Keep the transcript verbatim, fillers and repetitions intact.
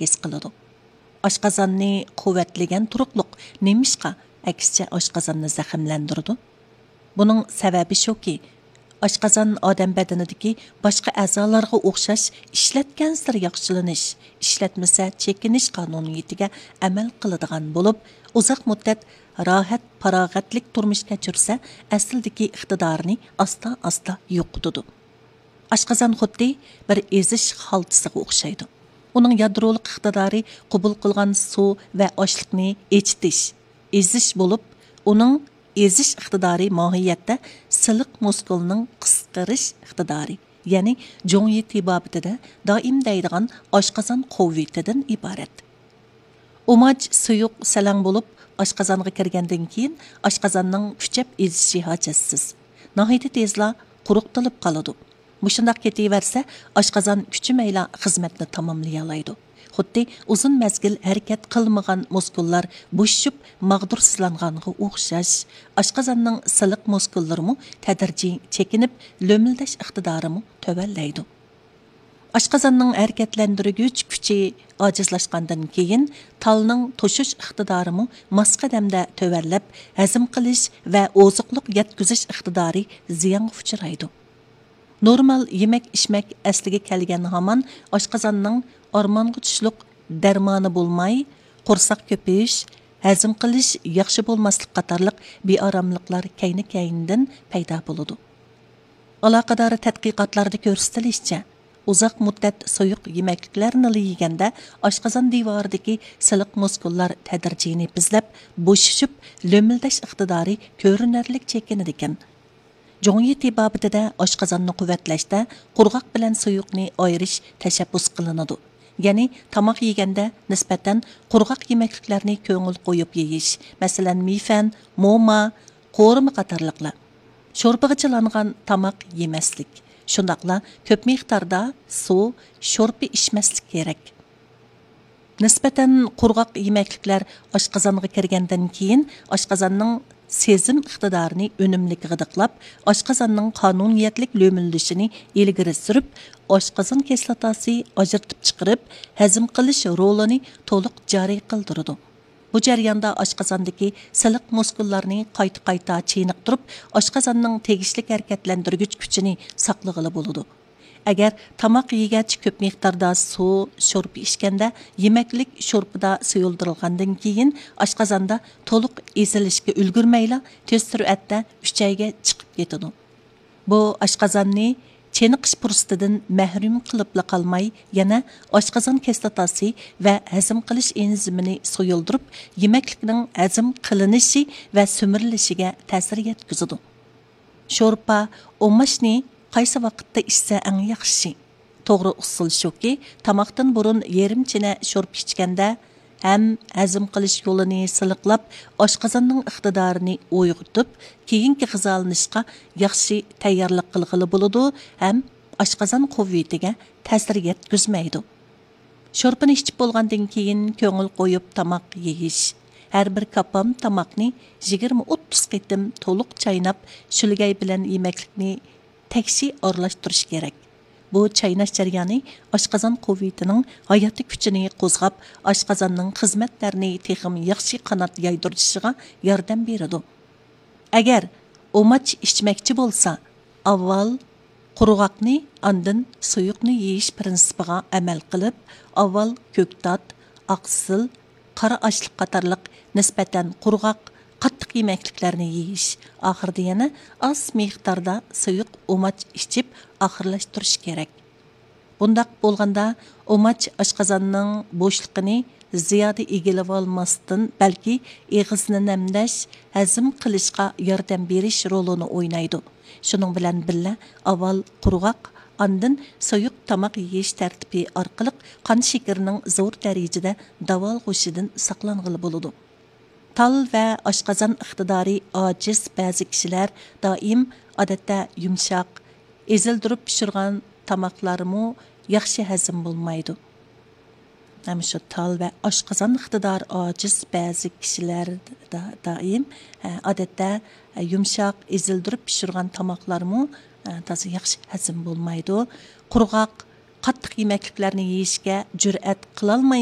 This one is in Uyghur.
ھېس قىلىدۇ. ئاشقازاننى قۇۋۋەتلىگەن تۇرۇقلۇق نېمىشقا ئەكسىچە ئاشقازاننى زەخىملەندۈرىدۇ؟ بۇنىڭ سەۋەبى شۇكى، ئاشقازان ئادەم بەدىنىدىكى باشقا ئەزالارغا ئوخشاش ئىشلەتكەنسېرى ياخشىلىنىش، ئىشلەتمىسە چېكىنىش قانۇنىيىتىگە ئەمەل قىلىدىغان بولۇپ، ئۇزاق مۇددەت راھەت، پاراغەتلىك تۇرمۇش كەچۈرسە، ئەسلىدىكى ئىقتىدارىنى ئاستا-ئاستا يوقىتىدۇ. ئاشقازان خۇددى بىر ئېزىش خالتىسىغا ئوخشايدۇ. ئۇنىڭ يادرولۇق ئىقتىدارى قوبۇل قىلغان سۇ ۋە ئاشلىقنى ئېچىتىش، ئېزىش بولۇپ، ئۇنىڭ ئېزىش ئىقتىدارى ماھىيەتتە سىلىق مۇسكۇلنىڭ قىسقىرىش ئىقتىدارى، يەنى جۇڭيى تېبابىتىدە دائىم دەيدىغان ئاشقازان قۇۋۋىتىدىن ئىبارەت. ئۇماچ سۇيۇق سەلەڭ بولۇپ، ئاشقازانغا كىرگەندىن كېيىن، ئاشقازاننىڭ كۈچەپ ئېزىشى ھاجەتسىز، ناھايىتى تېزلا قۇرۇقتىلىپ قالىدۇ. مۇشۇنداق كېتىۋەرسە، ئاشقازان كۈچىمەيلا خىزمەتنى تاماملىيالايدۇ. خۇددى ئۇزۇن مەزگىل ھەرىكەت قىلمىغان مۇسكۇللار بوشىشىپ ماغدۇرسىزلانغانغا ئوخشاش، ئاشقازاننىڭ سىلىق مۇسكۇللىرىمۇ تەدرىجىي چېكىنىپ، لۆمۈلدەش ئىقتىدارىمۇ تۆۋەنلەيدۇ. ئاشقازاننىڭ ھەرىكەتلەندۈرگۈچ كۈچى ئاجىزلاشقاندىن كېيىن، تالنىڭ توشۇش ئىقتىدارىمۇ ماس قەدەمدە تۆۋەنلەپ، ھەزىم قىلىش ۋە ئوزۇقلۇق يەتكۈزۈش ئىقتىدارى زىيانغا ئۇچرايدۇ. نورمال يېمەك-ئىچمەك ئەسلىگە كەلگەن ھامان ئاشقازاننىڭ ئارمانغا چۈشلۈق دەرمانى بولماي، قورساق كۆپىيىش، ھەزىم قىلىش ياخشى بولماسلىق قاتارلىق بىئاراملىقلار كەينى-كەينىدىن پەيدا بولىدۇ. ئالاقىدار تەتقىقاتلاردا كۆرسىتىلىشىچە، ئۇزاق مۇددەت سۇيۇق يېمەكلىكلەرنىلا يېگەندە، ئاشقازان دىۋارىدىكى سىلىق مۇسكۇللار تەدرىجىي نېپىزلەپ، بوشىشىپ، لۆمۈلدەش ئىقتىدارى كۆرۈنەرلىك چېكىنىدىكەن. جۇڭيى تېبابىتىدە ئاشقازاننى قۇۋۋەتلەشتە قۇرغاق بىلەن سۇيۇقنى ئايرىش تەشەببۇس قىلىنىدۇ. يەنى تاماق يېگەندە نىسبەتەن قۇرغاق يېمەكلىكلەرنى كۆڭۈل قويۇپ يېيىش، مەسىلەن، مىفەن، موما، قورۇما قاتارلىقلار. شورپىغا چىلانغان تاماق يېمەسلىك، شۇنداقلا كۆپ مىقداردا سۇ، شورپا ئىچمەسلىك كېرەك. نىسبەتەن قۇرغاق يېمەكلىكلەر ئاشقازانغا كىرگەندىن كېيىن، ئاشقازاننىڭ سېزىم ئىقتىدارىنى ئۈنۈملۈك غىدىقلاپ، ئاشقازاننىڭ قانۇنىيەتلىك لۆمۈلدىشىنى ئىلگىرى سۈرۈپ، ئاشقازان كىسلاتاسى ئاجرىتىپ چىقىرىپ، ھەزىم قىلىش رولىنى تولۇق جارى قىلدۇرىدۇ. بۇ جەرياندا ئاشقازاندىكى سىلىق مۇسكۇللارنى قايتا-قايتا چېنىقتۇرۇپ، ئاشقازاننىڭ تېگىشلىك ھەرىكەتلەندۈرگۈچ كۈچىنى ساقلىغىلى بولىدۇ. ئەگەر تاماق يېگەچ كۆپ مىقداردا سۇ، شورپا ئىچكەندە، يېمەكلىك شورپىدا سۇيۇلدۇرۇلغاندىن كېيىن، ئاشقازاندا تولۇق ئېزىلىشكە ئۈلگۈرمەيلا، تېز سۈرئەتتە ئۈچەيگە چىقىپ كېتىدۇ. بۇ ئاشقازاننى چېنىقىش پۇرسىتىدىن مەھرۇم قىلىپلا قالماي، يەنە ئاشقازان كىسلاتاسى ۋە ھەزىم قىلىش ئېنزىمىنى سۇيۇلدۇرۇپ، يېمەكلىكنىڭ ھەزىم قىلىنىشى ۋە سۈمۈرۈلۈشىگە تەسىر يەتكۈزىدۇ. شورپا، ئۇماچنى قايسى ۋاقىتتا ئىچسە ئەڭ ياخشى؟ توغرا ئۇسۇل شۇكى، تاماقتىن بۇرۇن يېرىم چىنە شورپا ئىچكەندە، ھەم ھەزىم قىلىش يولىنى سىلىقلاپ، ئاشقازاننىڭ ئىقتىدارىنى ئويغىتىپ، كېيىنكى غىزالىنىشقا ياخشى تەييارلىق قىلغىلى بولىدۇ ھەم ئاشقازان قۇۋۋىتىگە تەسىر يەتكۈزمەيدۇ. شورپىنى ئىچىپ بولغاندىن كېيىن، كۆڭۈل قويۇپ تاماق يېيىش. ھەر بىر كاپام تاماقنى يىگىرمە ئوتتۇز قېتىم تولۇق چايناپ، شۆلگەي بىلەن يېمەكلىكنى تەكشى ئارىلاشتۇرۇش كېرەك. بۇ چايناش جەريانى ئاشقازان قۇۋۋىتىنىڭ ھاياتىي كۈچىنى قوزغاپ، ئاشقازاننىڭ خىزمەتلەرنى تېخىمۇ ياخشى قانات يايدۇرۇشىغا ياردەم بېرىدۇ. ئەگەر ئۇماچ ئىچمەكچى بولسا، ئاۋۋال قۇرغاقنى، ئاندىن سۇيۇقنى يېيىش پىرىنسىپىغا ئەمەل قىلىپ، ئاۋۋال كۆكتات، ئاقسىل، قارا ئاشلىق قاتارلىق نىسبەتەن قۇرغاق، قاتتىق يېمەكلىكلەرنى يېيىش، ئاخىرىدا يەنە ئاز مىقداردا سۇيۇق ئۇماچ ئىچىپ ئاخىرلاشتۇرۇش كېرەك. بۇنداق بولغاندا، ئۇماچ ئاشقازاننىڭ بوشلۇقىنى زىيادە ئىگىلىۋالماستىن، بەلكى ئېغىزنى نەمدەش، ھەزىم قىلىشقا ياردەم بېرىش رولىنى ئوينايدۇ. شۇنىڭ بىلەن بىللە، ئاۋۋال قۇرغاق، ئاندىن سۇيۇق تاماق يېيىش تەرتىپى ئارقىلىق قان شېكىرىنىڭ زور دەرىجىدە داۋالغۇشىدىن ساقلانغىلى بولىدۇ. تال ۋە ئاشقازان ئىقتىدارى ئاجىز بەزى كىشىلەر دائىم، ئادەتتە، يۇمشاق، ئېزىلدۈرۈپ پىشۇرغان تاماقلارمۇ ياخشى ھەزىم بولمايدۇ. ھەم شۇ تال ۋە ئاشقازان ئىقتىدارى ئاجىز بەزى كىشىلەر دا-، دائىم، ئە، ئادەتتە، ئە، يۇمشاق، ئېزىلدۈرۈپ پىشۇرغان تاماقلارمۇ، ئە، تازا ياخشى ھەزىم بولمايدۇ. قۇرغاق، قاتتىق يېمەكلىكلەرنى يېيىشكە جۈرئەت قىلالماي